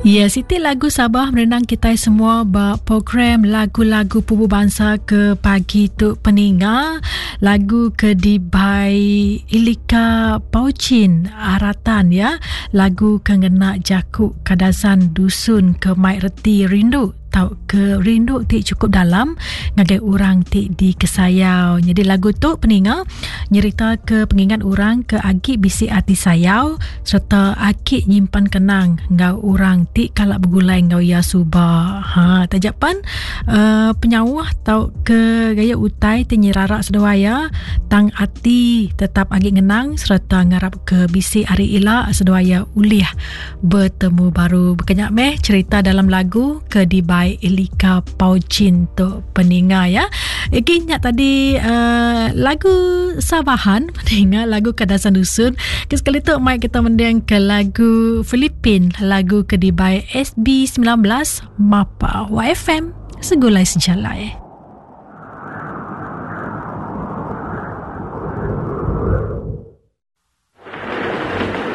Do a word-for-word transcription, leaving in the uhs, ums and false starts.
Ya, siti lagu Sabah merenang kita semua ba program lagu-lagu pupu bangsa ke pagi tu peninga. Lagu ke dibai Ilika Paucin Aratan ya. Lagu ke ngena jaku Kadazan Dusun ke mai reti rindu tau ke rindu ti cukup dalam ngagai orang ti dikesayau. Jadi lagu tu peninga nyerita ke pengingat orang ke agi bisi ati sayau serta aki nyimpan kenang ngau orang ti kalak begulai ngau ia suba. Ha tajapan uh, penyauh tau ke gaya utai ti nyerarak seduaya tang ati tetap agi ngenang serta ngarap ke bisi hari ila seduaya ulih bertemu baru. Berkenyak meh cerita dalam lagu ke dibai Elika Paucin tu peninga ya. Iki nyak tadi uh, lagu Sabahan peninga lagu Kadazan Dusun. Ke sekali tu mai kita mending ke lagu Filipin, lagu ke dibai S B sembilan belas Mapa Y F M Segulai Sejalai.